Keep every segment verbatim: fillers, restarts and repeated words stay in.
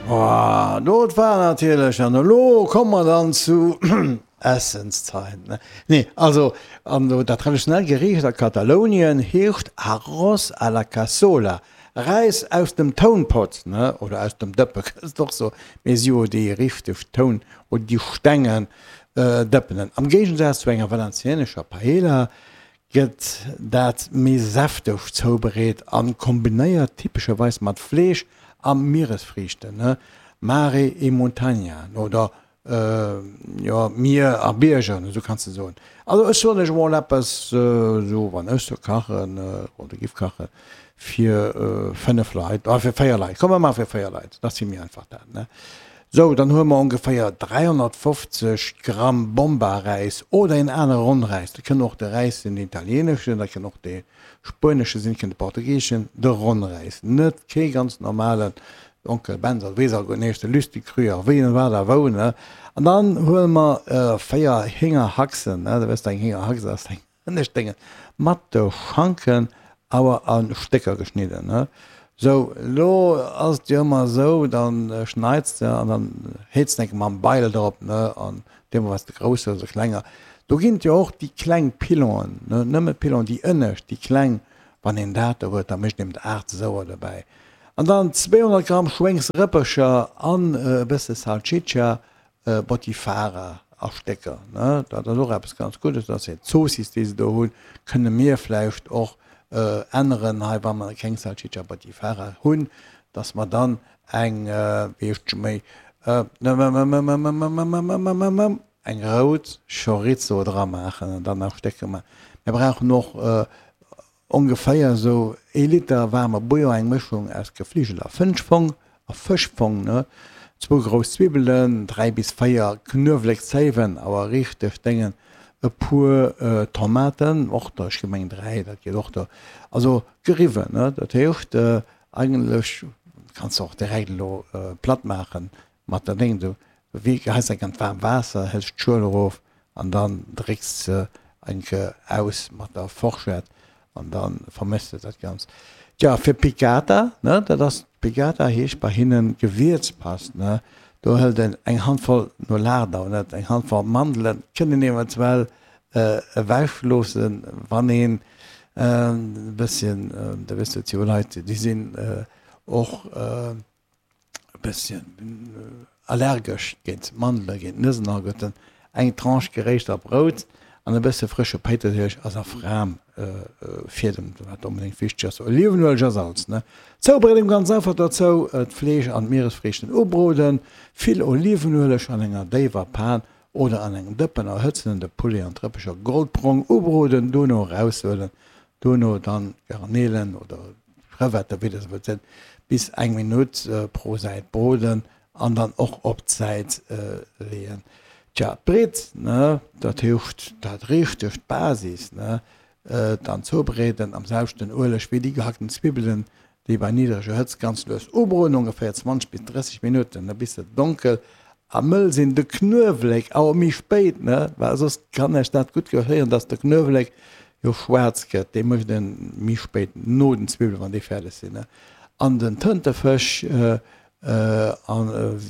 Oh, dat war natierlech, an elo komme mer dann zu Essenszeit, ne? Nee, also, an dat traditionell Geriicht a Katalounien heescht Arroz a la Cassola, Räis aus dem Tounpott, ne, oder aus dem Dëppe kënns de och soen, mee si jo déi richteg Toun oder déi stengen Dëppenen. Am Géigensaz zu enger valencianescher Paella gëtt dat méi säfteg zoubereet an kombinéiert typescherweis mat Fleesch a Mieresfriichten, Mare e Montaña, oder jo, Mier a Bierger, esou kanns de soen. Also ech soen lech emol eppes, esou wann ech sou kachen oder giff kachen, fir fënnef Leit, ah fir véier Leit, komm mer maache fir véier Leit, dat ass vill méi einfach dat, ne. Sou, dann huele mer ongeféier dräihonnertfofzeg Gramm Bomba-Räis oder een anere Ronnräis, dat kënn och de Räis sinn, den italieeneschen, dat kënn och de spuenesche sinn, kënn de portugiseschen, de Ronnräis, net kee ganz normalen Onkel Benz oder wéi se alleguerten heescht, de Lüsticrüer, wéi en wat a wou, ne. An dann huele mer véier Héngerhaxen, ne, da wësst Der, eng Héngerhax ass eng Ënnescht mat de Schanken awer a Stécker geschnidden, ne. Sou, elo ass et jo ëmmer esou, dann schneits de an dann heets de enke mam Beil drop, ne, an deemno wat s de grouss hues oder klenger. Do ginn et jo och déi kleng Pilonen, ne, nëmme d'Pilonen, déi ënnescht, déi kleng, wann een dat do huet, da mécht een et aacht souer dobäi. An dann zweehonnert Gramm Schwéngsrëppercher an e bësse Salsiccia Botifara a Stécker, ne, dat ass och eppes ganz Guddes, dat ass hir Zoossiss, déi se do hunn, kënne mir vläicht och änneren hei, wa mer keng Salsiccia Botifara hunn, dass mer dann eng, wéi heescht scho méi, eng rout Chorizo dra maachen an dann a Stécker maachen. Mir brauchen och Ongeféier esou ee Liter waarme Bouillon, eng Mëschung aus Gefligel a Fënschfong a Fëschfong, ne, zwou grouss Zwibbelen, dräi bis véier Knuewléckzéiwen, awer richteg déngen, e puer Tomaten, och der, ech gi meng dräi, dat geet och do, also geriwwen, ne, dat heescht eigentlech kanns de och direkt elo platt maachen mat der Déng, du geheis eng an d'waarmt Waasser, hëls d'Schuel erof an dann drécks se eng Kéier aus mat der Forschett an da vermëschs de dat Ganzt. Tja, fir Piccata, ne, dat ass, Piccata heescht bei hinnen Gewierzpast, ne, do hëlt een eng Handvoll no Lardon, net, eng Handvoll Mandelen, kënnt een eventuell ewech loossen, wann een e bësschen, da wësst et jo Leit, déi sinn och, e bësschen allergesch géint Mandelen, géint Nëssen alleguerten, eng Tranche geréischter Brout an e bësse frësche Péitersilich a Safran Fiedem, wat onbedéngt wichteg ass, Olivenueleg a Salz, ne. Zoubereedung ganz einfach, dozou d'Fleesch an d'Mieresfriichten ubroden, vill Olivenueleg an enger déiwer Pan oder an engem Dëppen erhëtzen, de Poulet an d'Rëppecher goldbrong ubroden, dono eraushuelen, dono dann d'Garnelen oder Crevetten, wéi der se wëllt sinn, bis eng Minutt pro Säit broden an dann och op d'Säit leeën. Tja, d'Britt, ne, dat heescht dat richtegt, d'Basis, ne, dann zoubereeden am selwechten Ueleg wéi déi gehackten Zwibbelen, déi bei niddreger Hëtzt ganz lues ubroden, ongeféier zwanzeg bis drësseg Minutten, ne, bis se donkel a mëll sinn. De Knuewelek awer méi spéit, ne, well soss kann Iech dat gutt gehéieren, dass de Knuewelek jo schwaarz gëtt, dee mécht en méi spéit no den Zwiwwelen, wann déi fäerdeg sinn, an den Tëntefësch a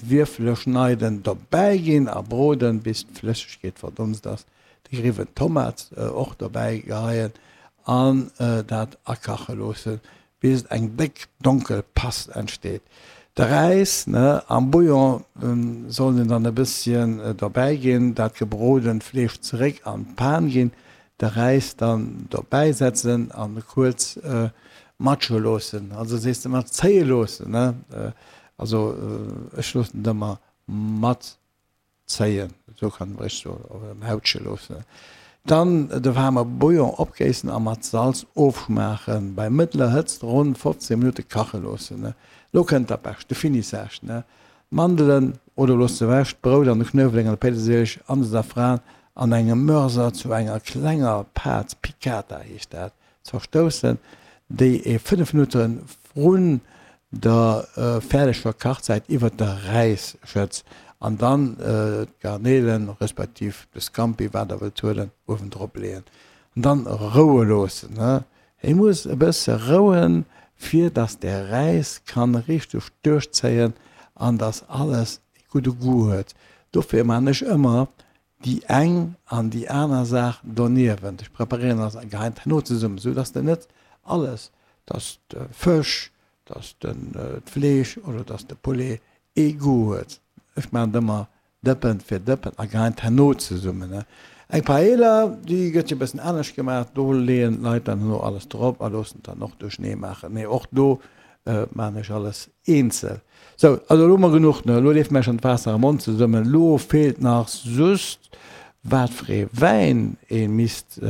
Wierfele schneiden, dobäi ginn a broden, bis d'Flëssegkeet verdonst ass. De geriwwen Tomat och dobäi geheien an dat akache loossen, bis eng déck donkel Past entsteet. De Räis am Bouillon soll een dann e bësschen dobäi ginn, dat gebrodent Fleesch zeréck an d'Pan ginn, de Räis dann dobäi setzen an kuerz matsche loossen, also sees de mat zéie loossen, ne? Also ech loossen et ëmmer mat zéien, esou kann een richteg soen, oder mautsche loossen. Dann de waarme Bouillon opgéissen a mat Salz ofschmaachen. Bei mëttler Hëtzt ronn fofzéng Minutte kache loossen. Lo kënnt dat Bescht, de Finissage, ne? D'Mandelen, oder looss se ewech, d'Brout an de Knuewelek an de Péitersilich an de Safran an engem Mörser zu enger klenger Pâte, Piccata heescht dat, zerstoussen, déi ee fënnef Minutte vrun der fäerdeger Kachzäit iwwert de Räis schëtz an dann d'Garnelen, respektiv de Scampi, wat der wëllt huelen, uewendrop leeën an dann roue loossen. Hie muss e bësse rouen, fir dass de Räis kann richteg duerchzéien an dass alles e gudde Goût huet. Dofir maan ech ëmmer déi eng an déi aner Saach doniewent. Ech preparéieren alles a geheien et herno zesummen, sou dass de net alles, dass de Fësch, dass den d'Fleesch oder dass de Poulet ee Goût huet. Ech maan et ëmmer Dëppen fir Dëppen a geheien et herno zesummen. Eng Paella, déi gëtt jo e bëssen anescht gemaach, do leeën d'Leit dann herno alles drop a loossen et dann och duerchnee maachen. Mee och do maachen ech alles eenzel. Sou, also elo hu mer genuch, ne? Elo leeft mer schonn d'Waasser am Mond zesummen. Elo feelt nach just, wat fir ee Wäin ee misst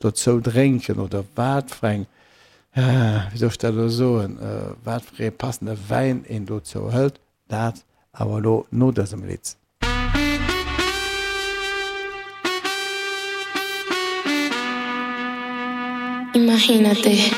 dozou drénken oder wat fir eng, wéi soll ech dat elo soen, wat fir ee passende Wäin een dozou hëlt. Dat awer elo no dësem Lidd. Imagínate.